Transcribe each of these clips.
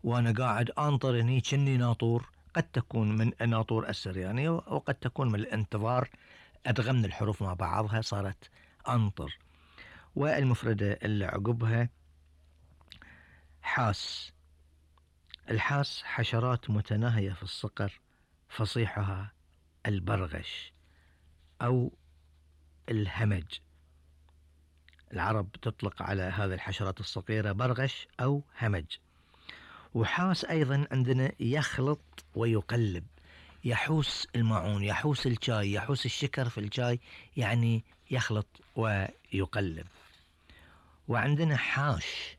وانا قاعد انطر هني كني ناطور، قد تكون من ناطور السرياني وقد تكون من الانتظار ادغم من الحروف مع بعضها صارت انطر. والمفردة اللي عقبها حاس. الحاس حشرات متناهية في الصقر فصيحها البرغش او الهمج. العرب تطلق على هذه الحشرات الصغيرة برغش او همج. وحاس ايضا عندنا يخلط ويقلب، يحوس الماعون، يحوس الشاي، يحوس الشكر في الشاي، يعني يخلط ويقلب. وعندنا حاش.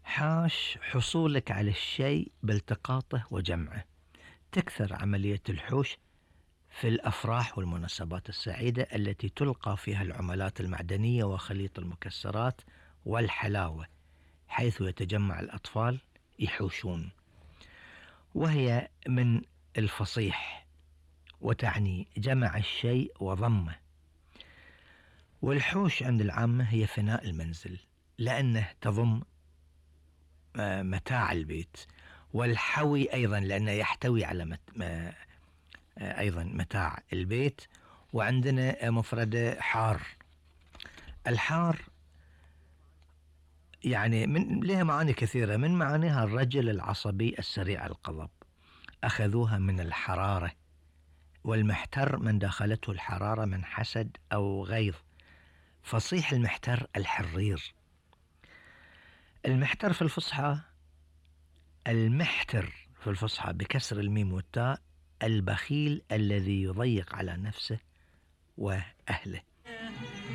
حاش حصولك على الشيء بالتقاطه وجمعه. تكثر عملية الحوش في الأفراح والمناسبات السعيدة التي تلقى فيها العملات المعدنية وخليط المكسرات والحلاوة، حيث يتجمع الأطفال يحوشون. وهي من الفصيح وتعني جمع الشيء وضمه. والحوش عند العامة هي فناء المنزل لأنه تضم متاع البيت. والحوي أيضا لأنه يحتوي على أيضا متاع البيت. وعندنا مفردة حار. الحار يعني لها معاني كثيرة، من معانيها الرجل العصبي السريع الغضب، أخذوها من الحرارة. والمحتر من دخلته الحرارة من حسد أو غيظ، فصيح المحتر الحرير. المحتر في الفصحى، المحتر في الفصحى بكسر الميم والتاء، البخيل الذي يضيق على نفسه وأهله.